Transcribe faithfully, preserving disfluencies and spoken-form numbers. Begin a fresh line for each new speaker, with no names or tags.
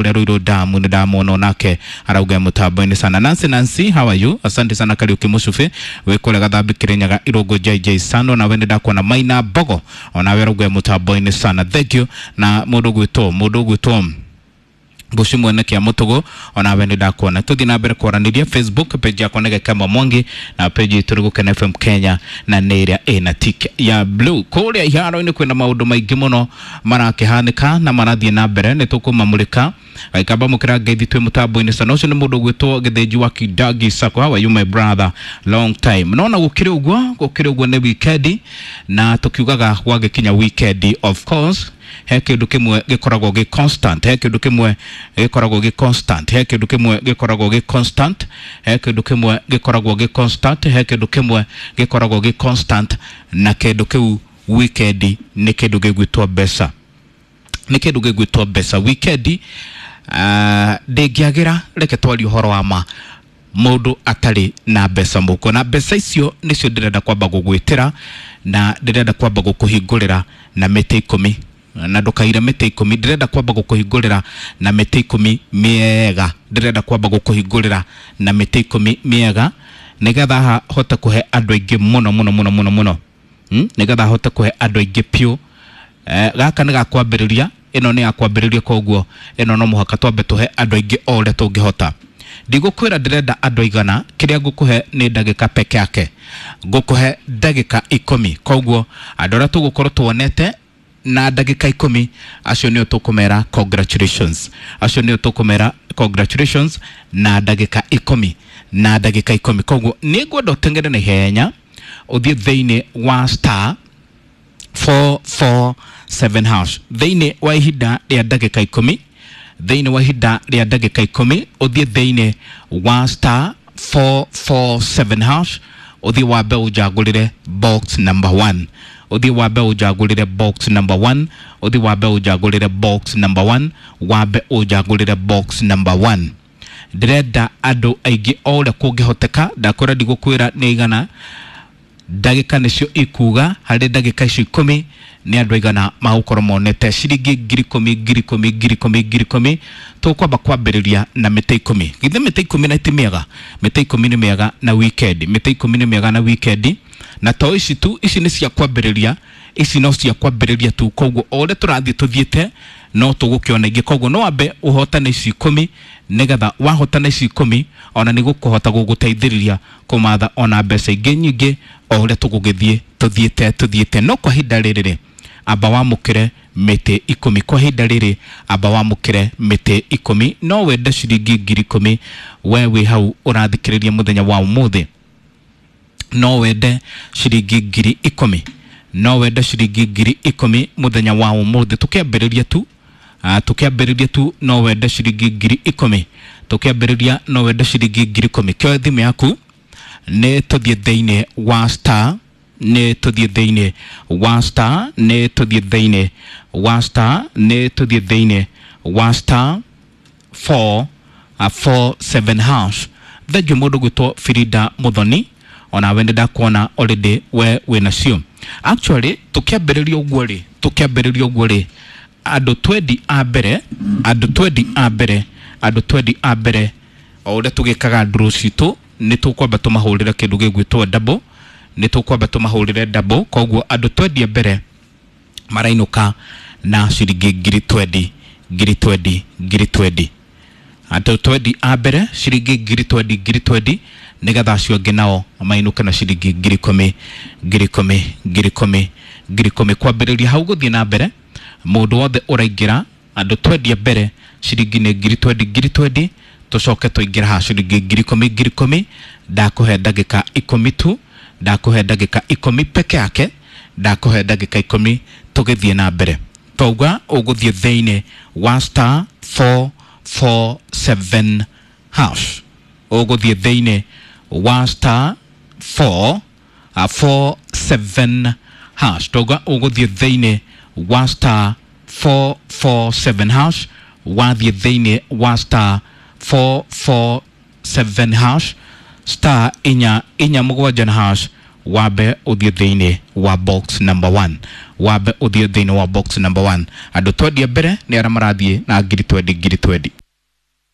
Kũrĩa Ruiru Damu nĩ ndamwona onake arauga mũtambo-inĩ sana. Nancy Nancy, how are you? Asante sana Kariuki Mũcubĩ wĩ kũrĩa Gathambi Kĩrĩnyaga Irũngũ J J Sano, nawe nĩ ndakuona Maina Mbogo onawe arauga mũtambo-inĩ sana, thank you. Na mũndũ gwĩtwo mũndũ gwĩtwo Mbuci mwene kia mutugo onawe nĩ ndakuona. Tũthiĩ na mbere kwaranĩria Facebook page yakwa nĩ Gĩkemba Mwangi na page itũ nĩ Gũkena F M Kenya na nĩ ĩrĩa ĩna tick ya blue. Kũrĩa iharo-inĩ kwĩna maũndũ maingĩ mũno marakĩhanĩka na marathiĩ na mbere, nĩ tũkũmamũrĩka. Gaikamba mũkĩra ngeithi twĩ mũtambo-inĩ sana. Ũcio nĩ mũndũ ũgwĩtwo Gĩthĩnji wa Kidagi Sacco. How are you my brother? Long time. Nona gũkĩrĩ ũguo, gũkĩrĩ ũguo nĩ weekend na tũkiugaga gwagĩkinya weekend, of course he kĩndũ kĩmwe gĩkoragwo gĩ constant, he kĩndũ kĩmwe gĩkoragwo gĩ constant, he kĩndũ kĩmwe gĩkoragwo gĩ constant, he kĩndũ kĩmwe gĩkoragwo gĩ constant, he kĩndũ kĩmwe gĩkoragwo gĩ constant, na kĩndũ kĩu weekend nĩ kĩndũ gĩgwĩtwo mbeca, nĩ kĩndũ gĩgwĩtwo mbeca. Weekend uh, ndĩngĩagĩra, reke twarie ũhoro wa ma, mũndũ atarĩ na mbeca mũhuko, na mbeca icio nĩcio ndĩrenda kwamba gũgwĩtĩra na ndĩrenda kwamba gũkũhingũrĩra na mĩtĩ ikũmi, na ndũkaire mĩtĩ ikũmi, ndĩrenda kwamba gũkũhingũrĩra na mĩtĩ ikũmi mĩega, ndĩrenda kwamba gũkũhingũrĩra na mĩtĩ ikũmi mĩega nĩgetha hote kũhe andũ aingĩ mũno mũno mũno mũno mũno, hmm? Nĩgetha hote kũhe andũ aingĩ piũ. Eh, gaka nĩ gakwambĩrĩria, ĩno nĩ ya kwambĩrĩria, koguo ĩno no mũhaka twambe tũhe andũ aingĩ o ũrĩa tũngĩhota. Ndigũkwĩra ndĩrenda andũ aigana, kĩrĩa ngũkũhe nĩ ndagĩka peke yake, ngũkũhe ndagĩka ikũmi, koguo andũ arĩa tũgũkorwo tuonete na ndagĩka ikũmi acio nĩo tũkũmera congratulations, acio nĩo tũkũmera congratulations na ndagĩka ikũmi, na ndagĩka ikũmi. Koguo nĩ ngwenda ũteng'ere na ihenya ũthiĩ thĩinĩ wa star four four seven hash thĩinĩ wa ihinda rĩa ndagĩka ikũmi, thĩinĩ wa ihinda rĩa ndagĩka ikũmi ũthiĩ thĩinĩ wa star four four seven hash, ũthiĩ wambe ũnjagũrĩre box number one, ũthiĩ wambe ũnjagũrĩre box number one, ũthiĩ wambe ũnjagũrĩre box number one, wambe ũnjagũrĩre box number one. Ndĩrenda andũ aingĩ o ũrĩa kũngĩhoteka, ndakwĩra ndigũkwĩra nĩ igana, ndagĩka nĩcio ikuga, harĩ ndagĩka icio ikũmi nĩ andũ aigana magũkorwo monete ciringi ngiri ikũmi ngiri ikũmi ngiri ikũmi ngiri ikũmi. Tũkwamba kwambĩrĩria na mĩtĩ ikũmi. Githĩ mĩtĩ ikũmi na ti mĩega? Mĩtĩ ikũmi nĩ mĩega na weekend, mĩtĩ ikũmi nĩ mĩega na weekend, na to ici tu, ici nĩ cia kwambĩrĩria, ici no cia kwambĩrĩria tu, koguo o ũrĩa tũrathiĩ tũthiĩte no tũgũkĩona ingĩ, koguo no wambe ũhotane ici ikũmi, nĩgetha wahotana ici ikũmi ona nĩ gũkũhota gũgũteithĩrĩria kũmatha ona mbeca ingĩ nyingĩ o ũrĩa tũgũgĩthiĩ tũthiĩte tũthiĩte. No kwa ihinda rĩrĩ rĩ, amba wamũkĩre mĩtĩ ikũmi, kwa ihinda rĩrĩ amba wamũkĩre mĩtĩ ikũmi. No wende ciringi ngiri ikũmi we wĩ hau ũrathikĩrĩria mũthenya wa ũmũthĩ, no wende ciringi ngiri ikũmi, no wende ciringi ngiri ikũmi mũthenya wa ũmũthĩ. Tũkĩambĩrĩria tu, uh, tũkĩambĩrĩria tu no wende ciringi ngiri ikũmi, tũkĩambĩrĩria no wende ciringi ngiri ikũmi. Kĩoe thimũ yaku nĩ tũthiĩ thĩinĩ wa star, nĩ tũthiĩ thĩinĩ wa star, nĩ tũthiĩ thĩinĩ wa star, nĩ tũthiĩ thĩinĩ wa star four, uh, four seven hash. Thengiũ mũndũ gwĩtwo Frida Muthoni, onawe nĩ ndakuona already we wĩnacio. Actually tũkĩambĩrĩria ũguo rĩ, tũkĩambĩrĩria ũguo rĩ, andũ twendi a mbere, andũ twendi a mbere, andũ twendi a mbere o ũrĩa tũgĩkaga draw citũ nĩ tũkwamba tũmahũrĩre kĩndũ gĩgwĩtwo double, nĩ tũkwamba tũmahũrĩre double, koguo andũ twendi a mbere marainũka na ciringi ngiri twendi, ngiri twendi, ngiri twendi. Andũ twendi a mbere ciringi ngiri twendi, ngiri twendi, nĩgetha acio angĩ nao mainũke na ciringi ngiri ikũmi, ngiri ikũmi, ngiri ikũmi, ngiri ikũmi. Kwambĩrĩria hau gũthiĩ na mbere, mũndũ wothe ũraingĩra andũ twendi a mbere ciringi nĩ ngiri twendi, ngiri twendi, tũcoke tũingĩre haha ciringi ngiri ikũmi, ngiri ikũmi. Ndakũhe ndagĩka ikũmi tu, ndakũhe ndagĩka ikũmi peke yake, ndakũhe ndagĩka ikũmi tũgĩthiĩ na mbere. Twauga ũgũthiĩ thĩinĩ wa star four four seven hash, ũgũthiĩ thĩinĩ wa star four, uh, four seven hash. Twauga ũgũthiĩ thĩinĩ wa star four four seven hash, wathiĩ thĩinĩ wa star four four seven hash, star inya inya mũgwanja na hash, Wambe ũthiĩ thĩinĩ wa box number one, wambe ũthiĩ thĩinĩ wa box number one. Andũ twendia mbere nĩ arĩa marathiĩ na ngiri twendi ngiri twendi.